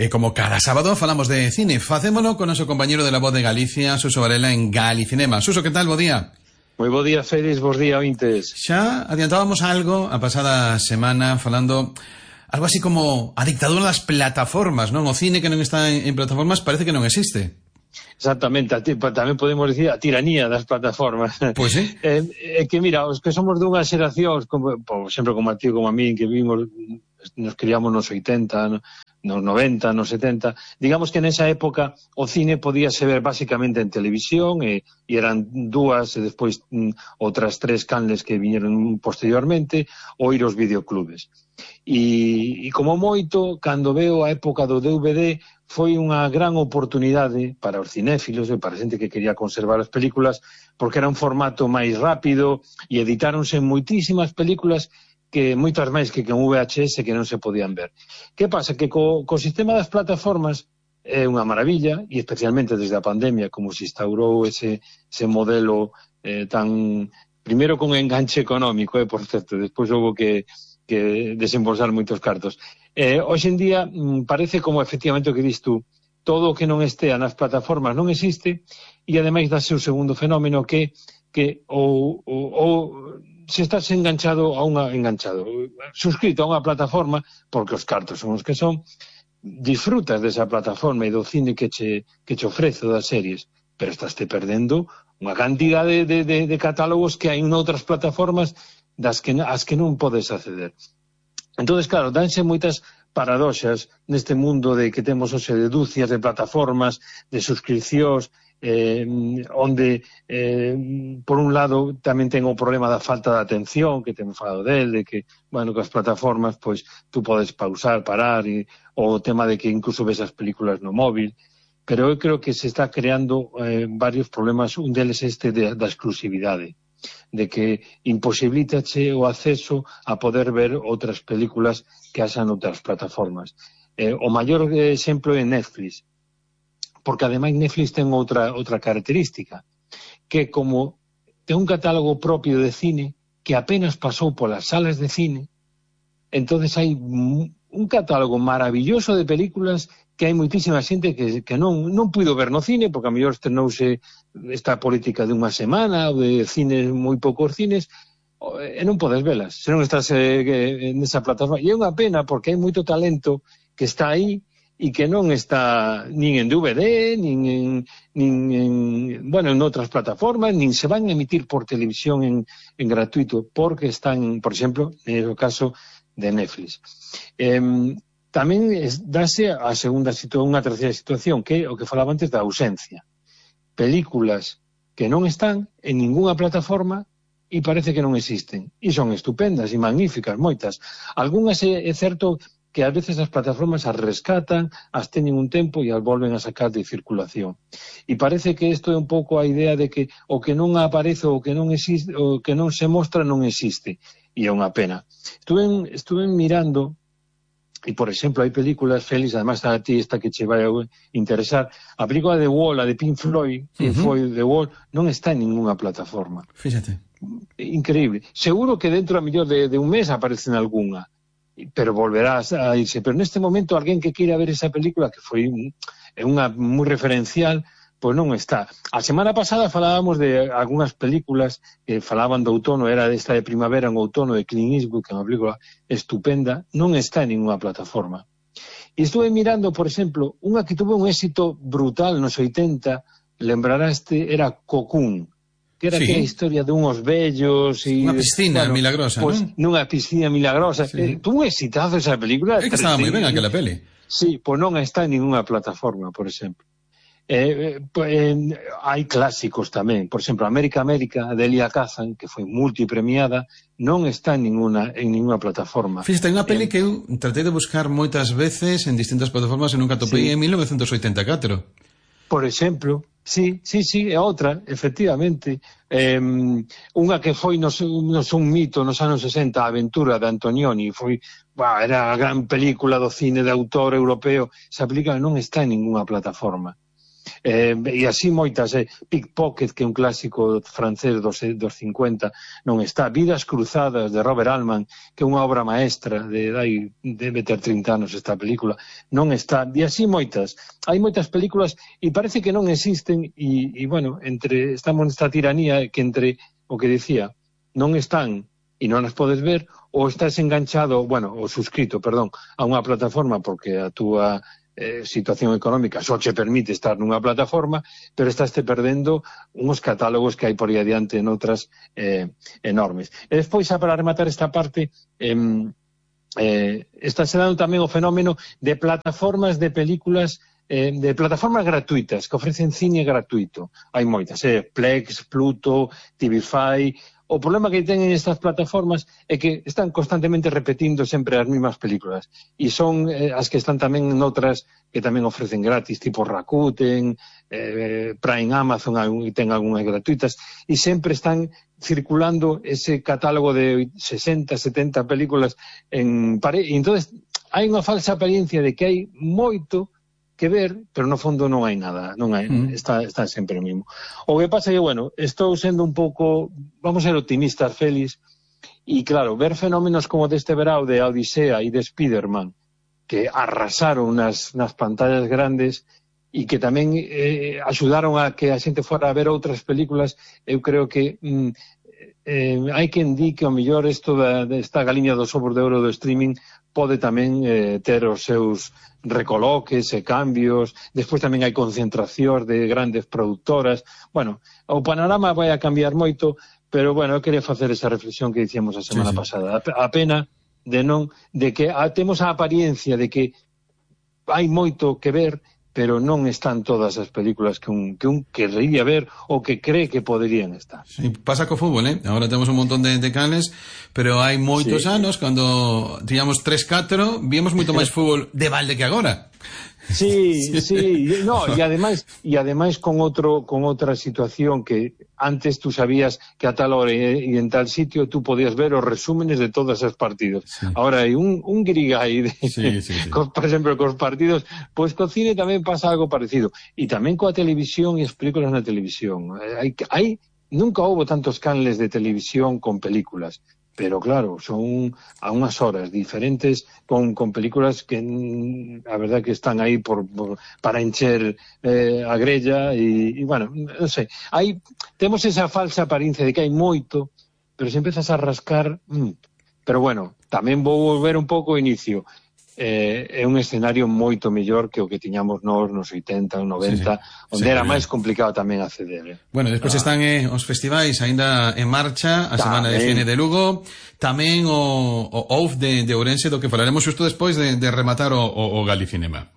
Como cada sábado falamos de cine, facémolo con noso compañeiro de La Voz de Galicia, Suso Varela, en Galicinema. Suso, que tal? Bo día. Moi bo día, Félix, bos día, ointes. Xa adiantábamos algo a pasada semana falando algo así como a dictadura das plataformas, non? O cine que non está en plataformas parece que non existe. Exactamente, tamén podemos dicir a tiranía das plataformas. Pois sí. Que mira, os que somos dunha xeración, como, por exemplo, como a ti, como a mí, que vimos, nos criamos nos 80, nos 90, nos 70, digamos que nesa época o cine podíase ver basicamente en televisión e eran dúas e despois outras tres canles que viñeron posteriormente ou ir aos videoclubes. E como moito, cando veo a época do DVD, foi unha gran oportunidade para os cinéfilos e para a xente que quería conservar as películas, porque era un formato máis rápido e editáronse moitísimas películas que moitas máis que con VHS que non se podían ver. Que pasa? Que co sistema das plataformas é unha maravilla, e especialmente desde a pandemia, como se instaurou ese modelo tan... Primeiro con enganche económico, por certo, despois houve que desembolsar moitos cartos. Hoxe en día parece como efectivamente o que dis tú, todo o que non estea nas plataformas non existe, e ademais dase o segundo fenómeno que se estás suscrito a unha plataforma, porque os cartos son os que son, disfrutas desa plataforma e do cine que che ofrece das series, pero estás te perdendo unha cantidade de catálogos que hai noutras plataformas as que non podes acceder. Entón, claro, danse moitas paradoxas neste mundo de que temos hoxe de dúcias de plataformas, de suscripcións, onde por un lado tamén ten o problema da falta de atención que temos falado del, de que, bueno, que as plataformas pois tú podes pausar, parar, ou o tema de que incluso ves as películas no móvil, pero eu creo que se está creando varios problemas, un deles da exclusividade, de que imposibilítache o acceso a poder ver outras películas que haxan outras plataformas. O maior exemplo é Netflix, porque ademais Netflix ten outra característica, que como ten un catálogo propio de cine que apenas pasou polas salas de cine, entonces hai un catálogo maravilloso de películas que hai moitísima xente que non puido ver no cine, porque a mellor estrenouse esta política de unha semana ou de cines, moi poucos cines, e non podes velas, se non estás nesa plataforma. E é unha pena, porque hai moito talento que está aí e que non está nin en DVD, nin en outras plataformas, nin se van a emitir por televisión en gratuito, porque están, por exemplo, no caso de Netflix. Tamén dase a unha terceira situación, que é o que falaba antes da ausencia. Películas que non están en ningunha plataforma e parece que non existen. E son estupendas e magníficas, moitas. Algúnas é certo que ás veces as plataformas as rescatan, as teñen un tempo e as volven a sacar de circulación. E parece que isto é un pouco a idea de que o que non aparece, o que non existe, o que non se mostra non existe. E é unha pena. Estuve mirando, e por exemplo, hai películas, Félix, además a ti esta que che vai a interesar, a película de Wall, a de Pink Floyd, que foi de Wall, non está en ninguna plataforma. Fíxate. Increíble. Seguro que dentro a mellor de un mes aparece en algunha, pero volverás a irse. Pero neste momento, alguén que queira ver esa película, que foi unha moi referencial, pois non está. A semana pasada falábamos de algunhas películas que falaban do outono, era esta de primavera en outono de Clint Eastwood, que é unha película estupenda, non está en ninguna plataforma. E estuve mirando, por exemplo, unha que tuvo un éxito brutal nos 80, lembraraste, era Cocoon, que era aquela historia de unhos vellos e... Unha piscina milagrosa, non? Nunha piscina milagrosa. Tuvo un exitazo esa película. É que estaba moi ben aquela peli. Sí, pois non está en ninguna plataforma, por exemplo. Hai clásicos tamén, por exemplo, América, de Elia Kazan, que foi multipremiada, non está en ninguna plataforma. Fíxate, hai unha peli que eu tratei de buscar moitas veces en distintas plataformas e nunca topei en 1984. Por exemplo, sí, é outra, efectivamente. Unha que foi un mito nos anos 60, A aventura de Antonioni, era a gran película do cine de autor europeo. Esa película non está en ninguna plataforma. E así moitas, Pickpocket, que é un clásico francés dos 50, non está. Vidas cruzadas, de Robert Altman, que é unha obra maestra, debe ter 30 anos esta película, non está. E así moitas. Hai moitas películas e parece que non existen e bueno, estamos nesta tiranía que entre o que decía, non están e non as podes ver, ou estás enganchado, bueno, ou suscrito, perdón, a unha plataforma porque a túa situación económica só che permite estar nunha plataforma, pero estás te perdendo uns catálogos que hai por aí adiante noutras enormes. E despois, xa para rematar esta parte, está se dando tamén o fenómeno de plataformas de películas, de plataformas gratuitas que ofrecen cine gratuito. Hai moitas, Plex, Pluto, TV5. O problema que teñen estas plataformas é que están constantemente repetindo sempre as mesmas películas e son as que están tamén noutras que tamén ofrecen gratis, tipo Rakuten, Prime, Amazon, e ten algunhas gratuitas, e sempre están circulando ese catálogo de 60, 70 películas en e entonces hai unha falsa apariencia de que hai moito que ver, pero no fondo non hai nada, non hai, está sempre o mismo. O que pasa é que, bueno, estou sendo un pouco, vamos a ser optimistas, Félix, e claro, ver fenómenos como deste verao de Odisea e de Spiderman, que arrasaron nas pantallas grandes e que tamén axudaron a que a xente fora a ver outras películas, eu creo que hai quen di que o mellor isto desta galiña dos ovos de ouro do streaming pode tamén ter os seus recoloques e cambios, despois tamén hai concentracións de grandes productoras. Bueno, o panorama vai a cambiar moito, pero bueno, eu quería facer esa reflexión que dicíamos a semana pasada. A pena de que temos a apariencia de que hai moito que ver, pero non están todas as películas que un querría ver ou que cree que poderían estar. Sí, pasa co fútbol, Agora temos un montón de canes, pero hai moitos anos, cando tiñamos 3-4, víamos moito máis fútbol de balde que agora. Sí, no, e ademais con outra situación que antes tú sabías que a tal hora e en tal sitio tú podías ver os resúmenes de todos os partidos. Sí. Ahora hai un grigay por exemplo, cos partidos, pois co cine tamén pasa algo parecido. E tamén coa televisión e as películas na televisión. Nunca houbo tantos canles de televisión con películas. Pero claro, son a unhas horas diferentes con películas que a verdad que están aí para encher a grella e bueno, non sei, temos esa falsa apariencia de que hai moito, pero se empezas a rascar, pero bueno, tamén vou volver un pouco ao inicio. É un escenario moito mellor que o que tiñamos nos 80 ou 90, onde era máis complicado tamén acceder. Bueno, despois están os festivais aínda en marcha, a Semana de Cine de Lugo, tamén o OUF de Ourense, do que falaremos xusto despois de rematar o Galicinema.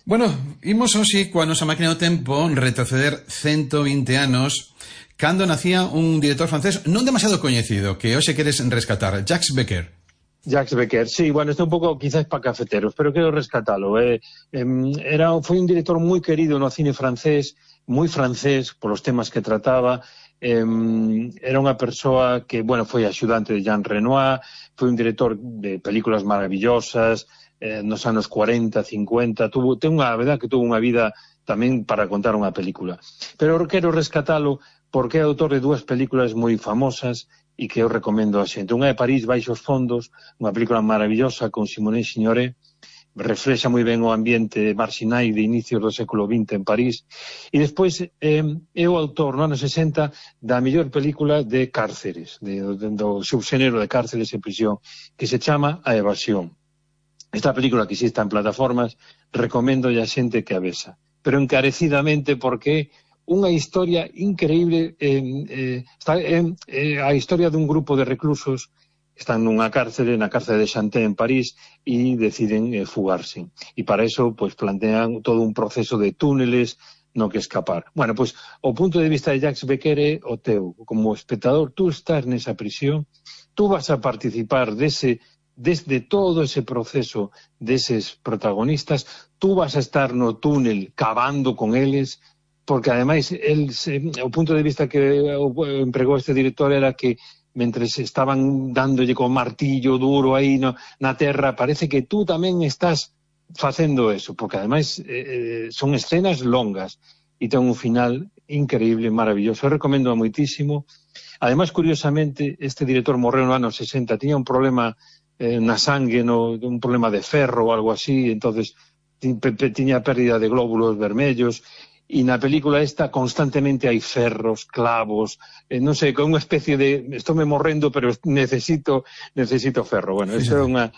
Bueno, imos hoxe coa nosa máquina do tempo retroceder 120 anos cando nacía un director francés non demasiado coñecido, que hoxe queres rescatar, Jacques Becker. Jacques Becker, sí, bueno, está un pouco quizás para cafeteros, pero quero rescatalo. Foi un director moi querido no cine francés, moi francés polos temas que trataba. Era unha persoa que, bueno, foi axudante de Jean Renoir, foi un director de películas maravillosas, nos anos 40, 50, a verdad que tuvo unha vida tamén para contar unha película. Pero quero rescatalo porque é autor de dúas películas moi famosas e que eu recomendo a xente. Unha é París baixo os fondos, unha película maravillosa con Simone Signoret, reflexa moi ben o ambiente marxinal de inicios do século XX en París. E despois é o autor, no ano 60, da mellor película de cárceres, do subxénero de cárceres e prisión, que se chama A Evasión. Esta película que existe en plataformas, recomendo a xente que a vexa, pero encarecidamente porque unha historia increíble, a historia dun grupo de reclusos que están na cárcere de Chanté en París e deciden fugarse. E para eso pues, plantean todo un proceso de túneles no que escapar. Bueno, pues o punto de vista de Jacques Becker é o teu. Como espectador, tú estás nesa prisión, tú vas a participar desde todo ese proceso deses protagonistas, tú vas a estar no túnel cavando con eles, porque ademais o punto de vista que empregou este director era que mentre estaban dándolle con martillo duro aí na terra, parece que tú tamén estás facendo eso, porque ademais son escenas longas e ten un final increíble, maravilloso. Eu recomendo moitísimo. Ademais, curiosamente, este director morreu no ano 60, tiña un problema na sangue, un problema de ferro ou algo así, entonces tiña pérdida de glóbulos vermellos, e na película esta constantemente hai ferros, clavos, non sei, con unha especie de estou me morrendo, pero necesito ferro. Bueno, isto é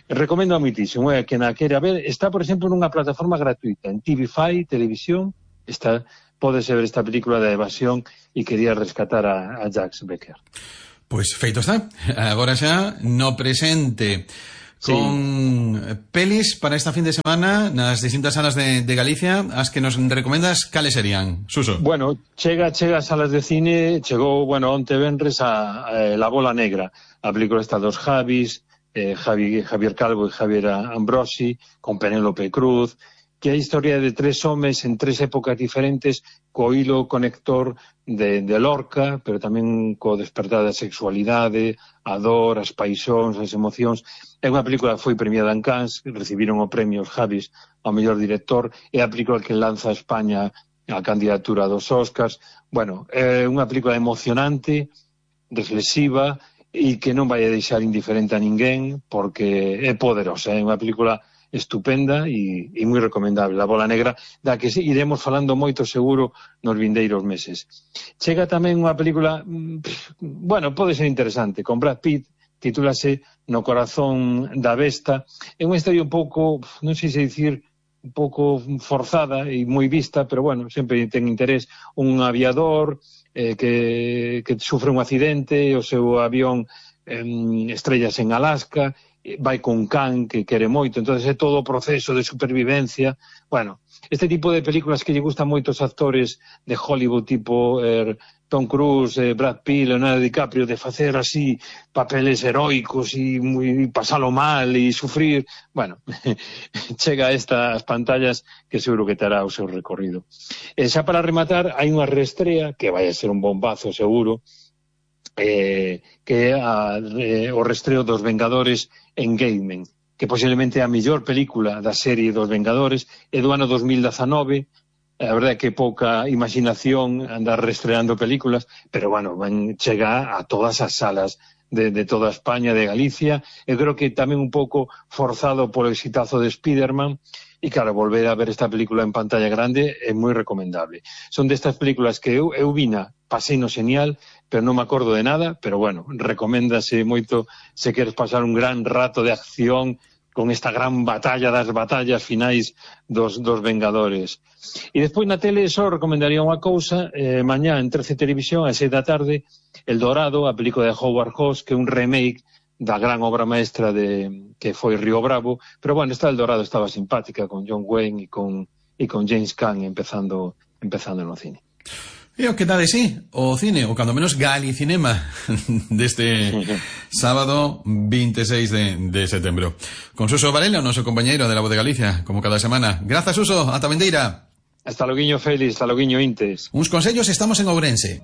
recomendo moitísimo, que na quera ver, está, por exemplo, nunha plataforma gratuita, en TV5, Televisión, pódese ver esta película de evasión e quería rescatar a Jacques Becker. Pois feito está. Agora xa no presente con pelis para esta fin de semana nas distintas salas de Galicia, as que nos recomendas, cales serían, Suso? Bueno, chega a salas de cine, chegou, onte venres a La Bola Negra, a película esta dos Javis, Javier Calvo e Javier Ambrosi, con Penélope Cruz, que é a historia de tres homes en tres épocas diferentes, co hilo conector de Lorca, pero tamén co despertar da sexualidade, a dor, as paixóns, as emocións. É unha película que foi premiada en Cannes, recibiron o premio os Javis ao mellor director, é a película que lanza a España a candidatura dos Oscars. Bueno, é unha película emocionante, reflexiva, e que non vai a deixar indiferente a ninguén, porque é poderosa, é unha película estupenda e moi recomendable, La Bola Negra, da que iremos falando moito seguro nos vindeiros meses. Chega tamén unha película, pode ser interesante, con Brad Pitt, titúlase No corazón da besta. É unha historia un pouco, non sei se dicir, un pouco forzada e moi vista, pero sempre ten interés. Un aviador que sufre un accidente, o seu avión estrellas en Alaska, vai con can que quere moito, entonces é todo o proceso de supervivencia. Este tipo de películas que lle gustan moito os actores de Hollywood, tipo Tom Cruise, Brad Pitt, Leonardo DiCaprio, de facer así papeles heroicos e pasalo mal e sufrir, chega a estas pantallas que seguro que terá o seu recorrido. Xa para rematar, hai unha reestrea que vai a ser un bombazo seguro, que é o restreo dos Vengadores Endgame, que posiblemente é a mellor película da serie dos Vengadores, é do ano 2019, a verdade é que pouca imaginación andar restreando películas, pero chega a todas as salas de toda España, de Galicia. Eu creo que tamén un pouco forzado polo exitazo de Spiderman, e claro, volver a ver esta película en pantalla grande é moi recomendable. Son destas películas que eu vina, pasei no xenial, pero non me acordo de nada, pero recoméndase moito se queres pasar un gran rato de acción con esta gran batalla das batallas finais dos Vengadores. E despois na tele só recomendaría unha cousa, mañá en 13 Televisión, a 6 da tarde, El Dorado, a película de Howard Hawks, que é un remake da gran obra maestra que foi Río Bravo, pero esta El Dorado estaba simpática, con John Wayne e con James Caan empezando no cine. E o que dá de sí o cine, ou cando menos Galicinema, deste sábado 26 de setembro. Con Suso Varela, o noso compañeiro de La Voz de Galicia, como cada semana. Grazas, Suso, ata vendeira. Hasta loguiño, Félix, hasta loguiño, Intes. Uns consellos, estamos en Ourense.